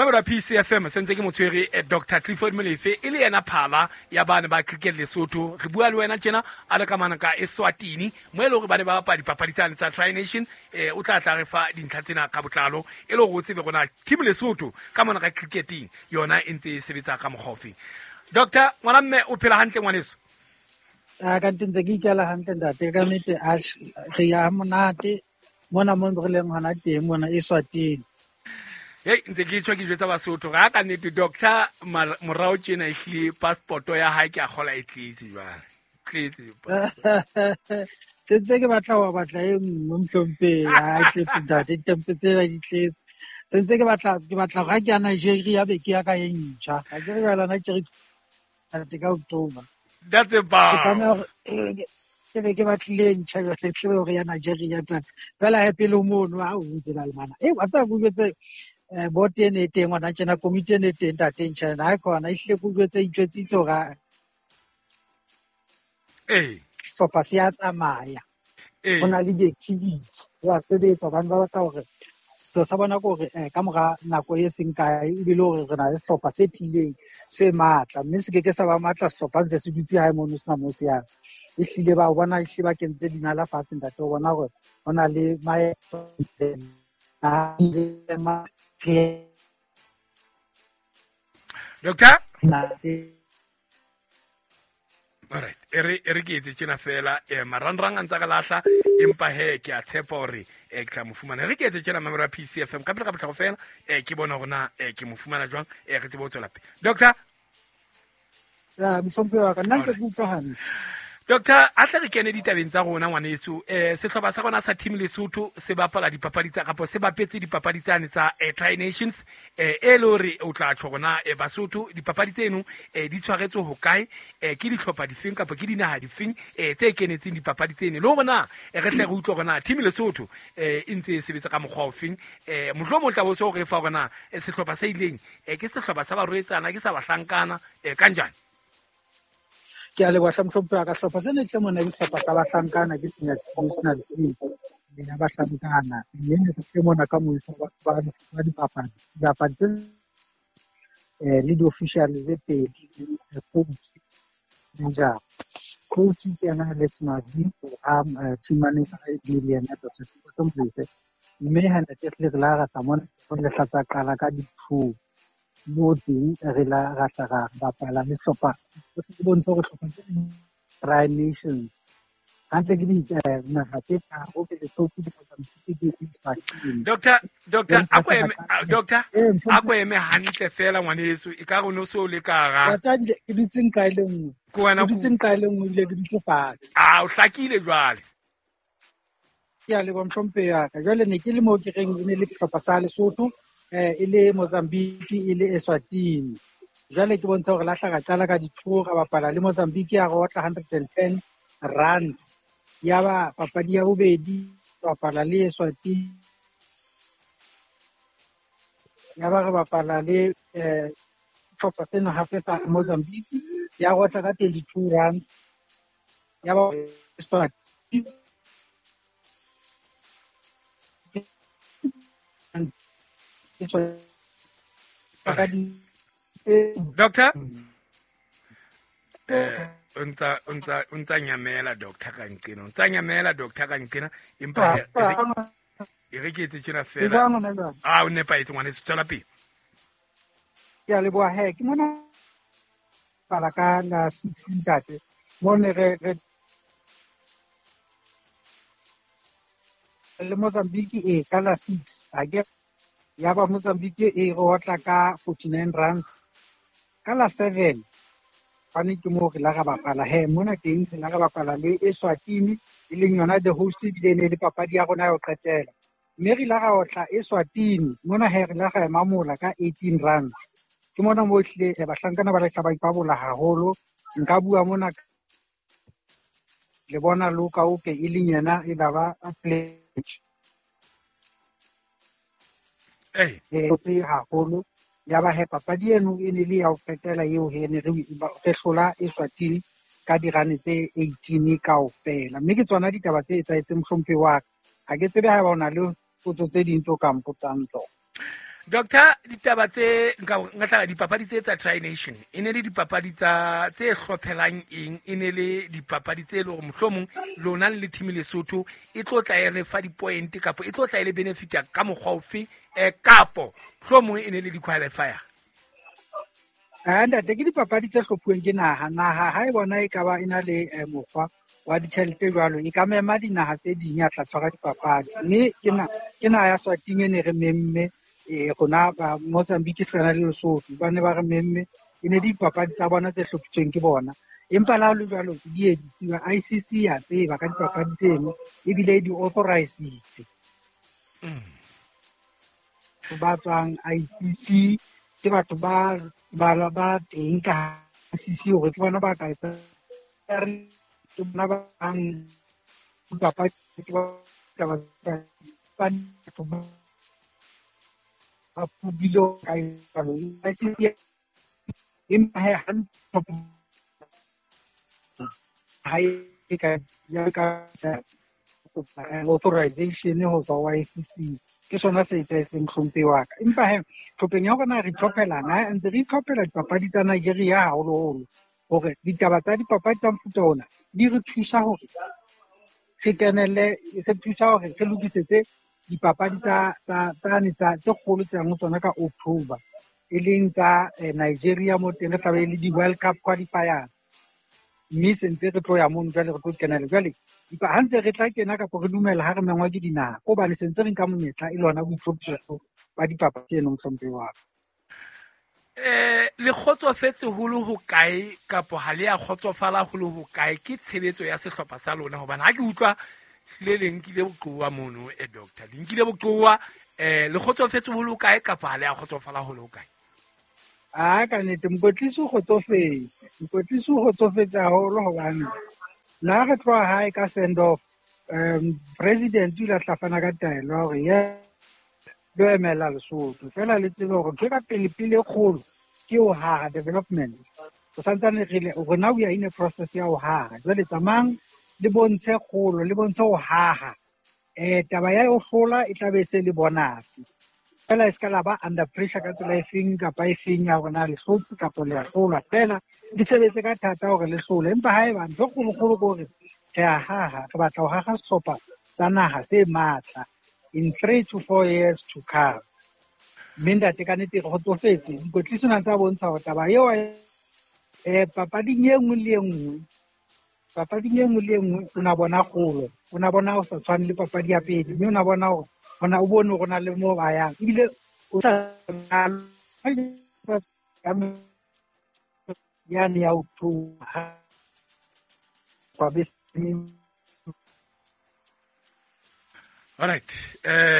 Mamelo ya PCFM sentse ke motshwere Dr Clifford Molefe e le yena phala ya bane ba cricket Lesotho. Re bua le wena tjena a le ka mane ka Eswatini mo e le hore ba ne ba bapala dipapadi tsane tsa Tri Nation. O tla tla re fa dintlha tsena ka botlalo e le hore o tsebe rona team Lesotho ka mona ka cricketing yona e ntse e sebetsa ka mokgwa ofeng. Doctor ngwana mme o phela hantle ngwaneso? A ka ntse ke ikela hantle ntate, ka nnete a re ya monate mona mo re leng hona teng mona Eswatini. Hei, ntse ke tjho ke jwetsa Basotho ga ka nnete doctor morao tjena ehlile passport ya hae ke a kgola e tletse jwale. Tletse. Se ntse ke batla wa batla e nngwe mohlomphehi, ha e tletse ntate, ditempe tsena di tletse. Se ntse ke batla ga ke ya Nigeria be ke ya ka e ntjha. Ga ke re jwale Nigeria ntate ka October. That's about. Ke be ke batlile ntjha jwale tsebe hore ya Nigeria tsa. Fela he pele mono ha o ntse ba le mana. Wa tseba ke jwetse board ene e teng hona tjena, committee ene e teng ntate ntjha ena. Ha e khona ehlile ke jwetse itjwetsitse hore sehlopha se ya tsamaya. Ho na le di-activity, ho a sebetsa hobane ba batla hore sepheo sa bona ke hore ka mora nako e seng kae ebile hore re na le sehlopha se tiileng se matla, mme se ke ke sa ba matla sehlopha ntse se dutse hae mono sena moo se yang. Ehlile ba bona ehlile ba kentse dinala fatshe ntate, o bona hore ho na le maeto a Doctor? Alright, e re ke etse tjena fela, marangrang a ntsa re lahla, empa he ke a tshepa hore ke tla mo fumana. Re ke etse tjena mamelo ya PCFM ka pele ka potlako fela, ke bona hore na ke mo fumana jwang, re tsebe ho tswela pele. Doctor? Ya, mohlomphehi wa ka, nna ntse ke utlwa hantle. Doctor, a tle re kene ditabeng tsa rona ngwaneso. Sehlopha sa rona sa team Lesotho se bapala dipapadi tsa kapo se bapetse dipapadi tsane tsa Tri Nations, e le hore o tla tjho rona Basotho dipapadi tseno di tshwaretswe ho kae, ke dihlopha difeng kapa ke dinaha difeng tse kenetseng dipapadi tseno, le hore na re hle re utlwe hore na team Lesotho e ntse e sebetsa ka mokgwa ofeng. Mohlomong tla bo se hore fa hore na sehlopha se ileng ke sehlopha sa barwetsana ke sa bahlankana kanjani. Ke a leboha hle mohlomphehi wa ka. Sehlopha sena tle mona ke sehlopha sa bahlankana, ke senior national team ya bahlankana, mme ne re tle mona ka moifo ba dipapadi, dipapadi tse le di-official tse pedi, coach manager. Coach ke yena Alex Mavi, ha team manager e le yena Dr. Sipho Molefe. Mme ha ntate re la ra tla mona re hlatsa qala ka di-two mo teng re la ra tla ra bapala le sehlopha se bontsha hore sehlopha se Tri Nations hantle ke di naha tse tharo ke Lesotho, ke Mozambique, ke Eswatini. Doctor, doctor, a ko eme hantle fela ngwaneso, e ka re no so le ka ra. Wa tseba ebile ke dutse nqa e le nngwe. Ke wena Ke dutse nqa e le nngwe ebile ke dutse fatshe. Ah, o hlakile jwale. Ke a leboha mohlomphehi wa ka. Jwale ne ke le moo ke reng e ne le sehlopha sa Lesotho, e le Mozambique, e le Eswatini. Jwale ke bontsha hore lahla ra qala ka di-two, ra bapala le Mozambique ya re otla 110 runs. Ya ba papadi ya bobedi, bapala le Eswatini. Ya ba re bapala le sehlopha sena hape sa Mozambique, ya re otla ka 22 runs. Ya ba Eswatini. Doctor? O ntsa nyamela doctor ka nqena, o ntsa nyamela doctor ka nqena, empa e re ke etse tjena fela. Ah, o nepahetse ngwaneso, tswela pele. Ke a leboha he, ke mona pala ka la 6 ntate. Mo ne re le Mozambique e ka la 6, ha ke ya ba Mozambique e re otla ka 49 runs. Ka la 7 bane ke moo re la ra bapala he, mona teng re la ra bapala le Eswatini, e leng yona the host, ebile e ne le papadi ya rona ya ho qetela. Mme re la ra otla Eswatini, mona he re la ra ema mola ka 18 runs. Ke mona moo ehlile bahlankana ba lahla ba ipabola haholo. Nka bua mona le bona Luka Oke e leng yena e la ba pledge. Tse haholo. Ya ba he papadi eno e ne le ya ho qetela eo he ne re hlola Eswatini ka dirane tse 18 kaofela. Mme ke tsona ditaba tse etsahetseng mohlomphehi wa ka. Ha ke tsebe haeba o na le potso tse ding tseo ka mpotsang tsona. Doctor, ditaba tse nka nka tla dipapadi tse tsa Tri Nation e ne le dipapadi tsa tse hlophelang eng, e ne le dipapadi tse leng hore mohlomong lona le team Lesotho e tlo tla e re fa di-point kapo e tlo tla e le benefita ka mokgwa ofe, kapo mohlomong e ne le di-qualifier? Ntate, ke dipapadi tse hlophuweng ke naha. Naha ha e bona e ka ba e na le mokgwa wa ditjhelete jwalo, e ka mema dinaha tse ding ya tla tshwara dipapadi. Mme ke naha ya Swatini e ne re memme, rona ba Mozambique se na le Lesotho, ba ne ba re memme, e ne dipapadi tsa bona tse hlophisitsweng ke bona. Empa le ha ho le jwalo, di ye di tseba, ICC ya tseba ka dipapadi tseno, ebile di authorized. Ba tswang ICC ke batho ba teng ka ICC hore ke bona ba ka etsa, ke bona ba bang dipapadi, ke ba batho ba ba ka ICC. Empa he hantle ha e ka ya ka authorization ho tswa ho ICC, ke sona se etsahetseng hlomphe wa ka. Empa he tlhopheng ya rona re itlhophela, na ntse re itlhophela dipapadi tsa Nigeria haholoholo, hore ditaba tsa dipapadi tsa mofuta ona di re thusa hore re kenelle, re thusa hore re lokisetse dipapadi tsa tse kgolo tse yang ho tsona ka October, e leng tsa Nigeria mo teng re tla be le di-World Cup qualifiers. Mme se ntse re tlo ya mono jwale, re tlo kenela jwale. Ha ntse re tla kena kapo re dumela ha re mengwa ke dinaha, ko hobane se ntse re nka monyetla e le hona boitlhophiso ba dipapadi tseno, mohlomphehi wa ka. Le kgotsofetse holo ho kae kapo ha le a kgotsofala holo ho kae ke tshebetso ya sehlopha sa lona? Hobane ha ke utlwa le le nkile boqowa mono, doctor, le nkile boqowa, le kgotsofetse holo ho kae kapo ha le a kgotsofala holo ho kae? A ka nnete mokwetlisi o kgotsofetse, mokwetlisi o kgotsofetse haholo hobane la re tloha hae ka send off, president o ile a tla fana ka taelo ya hore ye lo emela Lesotho, fela le tsebe hore ntho e ka pele pele e kgolo ke ho haha development. Re santsane re le, rona we are in a process ya ho haha. Jwale tsamayang le bontshe kgolo, le bontshe ho haha. Taba ya ho hlola e tla be se le bonus. Fela e ska la ba under pressure ka tsela e feng kapa e feng ya hore na le hlotse kapa le a hlolwa, fela le sebetse ka thata hore le hlole. Empa haeba ntho e kgolokgolo ke hore re a haha, re batla ho haha sehlopha sa naha se matla in 3 to 4 years to come. Mme ntate ka nnete re kgotsofetse, mokwetlisi o na ntse a bontsha hore taba eo, papading e nngwe le e nngwe, papading e nngwe le e nngwe o na bona kgolo, o na bona ho sa tshwane le papadi ya pele, mme o na bona hore hona o bone hore o na le moo ba yang, ebile o sa yane ya ho tloha kwa bese. All right,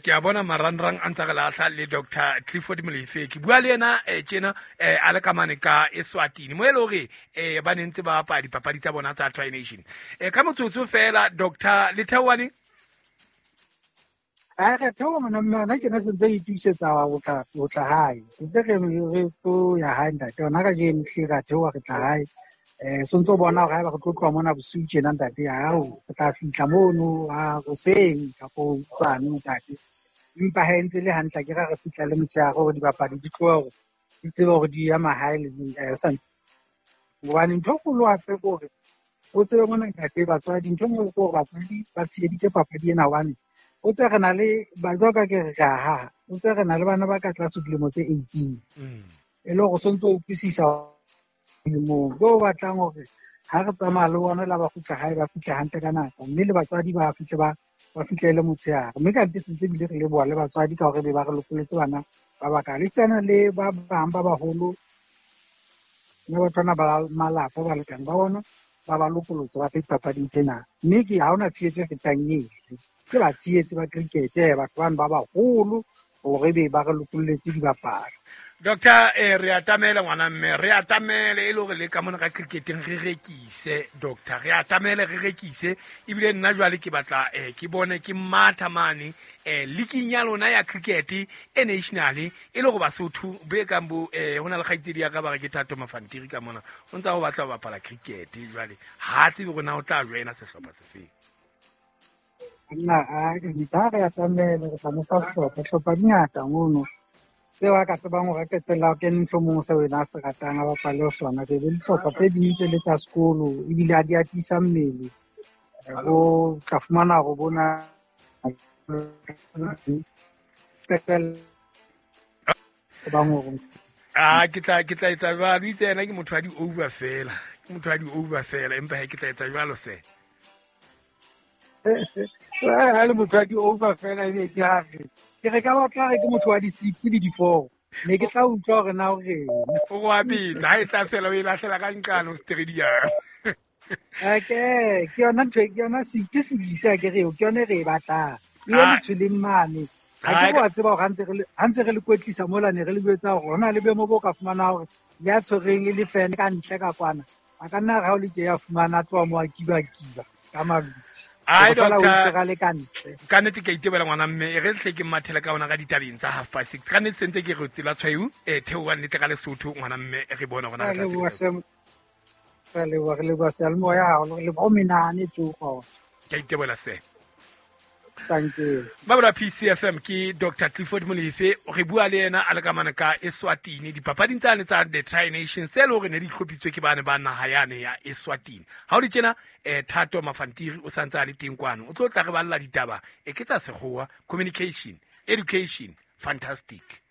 ke a bona marangrang a ntse re lahla le Dr. Clifford Molefe. Ke bua le yena tjena, a le ka mane ka Eswatini, mo e le hore ba ne ntse ba bapala dipapadi tsa bona tsa Tri Nation. Ka motsotso fela, Dr. Letheoane. A re theoha mona, mme hona tjena se ntse re itokisetsa ho tla hae. Se ntse re tlo ya hae ntate. Hona kajeno hlile ra theoha re tla hae. Se ntso bona hore haeba re tlo tloha mona bosiu tjena ntate, ao re tla fihla mono a hoseng kapo hosane ntate. Empa ha e ntse le hantle, ke ra re fihla le motshehare hore dibapadi di tlohe hore di tsebe hore di ya mahae le sa. Hobane ntho e kgolo hape ke hore o tsebe mona ntate, batswadi, ntho e nngwe ke hore batswadi ba tsheheditse papadi ena, hobane o tse re na le ba jwalo ka ke re ka haha, o tse re na le bana ba ka tlase dilemo tse 18. E le hore o sontso o utlwisisa moo bo batlang hore ha re tsamaya le bona la ba kgutla hae, ba fihle hantle ka nako, mme le batswadi ba fihle ba fihlele motshehare. Mme ka nnete sentse ebile re leboha le batswadi ka hore be ba re lokoletse bana ba bakaalo. Esitana le ba bang ba baholo, mme batho bana ba malapa balekane ba bona ba ba lokolotse ba tle dipapading tsena. Mme ke ha hona tshehetso e fetang eo. Ke ba tshehetse ba cricket, batho bano ba baholo hore be ba re lokolletse dibapadi. Doctor, re atamele ngwana mme, re atamele e le hore le ka mona ka cricketeng re rekise, doctor, re atamele re rekise. Ebile nna jwale ke batla ke bone ke matha mane leaking ya lona ya cricket e national, e le hore Basotho be kang bo ho na le kgaitsedi ya ka ba re ke Thato Mafantiri ka mona, o ntsa ho batla ho bapala cricket jwale ha tsebe hore na o tla joina sehlopha sefeng. Nna, a re atamele, re tla mo fa sehlopha, sehlopha di ngata mono. Seo a ka tsebang hore a qetella a kene mohlomong seo ena a se ratang, a bapale ho sona. Be le dihlopha tse ding tse le tsa sekolo ebile a di atisa mmele. Bo tla fumana hore bona qetella tsebang hore a ke tla ke tla etsa jwalo itse yena ke motho wa di-over fela, ke motho wa di-over fela, empa he ke tla etsa jwalo se. Ha le motho wa di-over fela ebe ke ha re ke re ka batla re ke motho wa di-six le di-four, ne ke tla utlwa hore na o reng. O go a betsa ha e tla fela o e lahlela ka nqane o stadium. Ke ke yona ntho, ke yona ke sebisa ke re ke yone re e batlang e ye letshweleng mane. Ha ke wa tseba hore ha ntse re le kwetlisa mola ne re le jwetsa hore hona le boemo bo ka fumana hore ya tshwereng e le fene ka ntle ka kwana a ka nna re ha o le tje ya fumana a tloha mo a kiba-kiba ka maluti. Ai, Hore fela o doctor. itshwara le ka ntle. Ka nnete ke a itebela ngwana mme, e re hle ke mathele ka ona ka ditabeng tsa 6:30. Ka nnete sentse ke re tsela tshweu, theoha nnete ka Lesotho ngwana mme, re bone hore na re tla Re leboha sebetsa. hle. Re leboha, re leboha seyalemoya haholo, re leboha o menahane tsoho. Ke a itebohela se. Thank you. Ba bora PCFM ke Dr. Clifford Molefe, re bua le yena a le ka mane ka Eswatini dipapading tsane tsa the Tri Nations tse le hore ne di hlophisitswe ke bane ba naha yane ya Eswatini. Ha o di tjena, Thato Mafantiri o santse a le teng kwano, o tlo tla re balla ditaba e ke tsa sekgowa, communication, education, fantastic.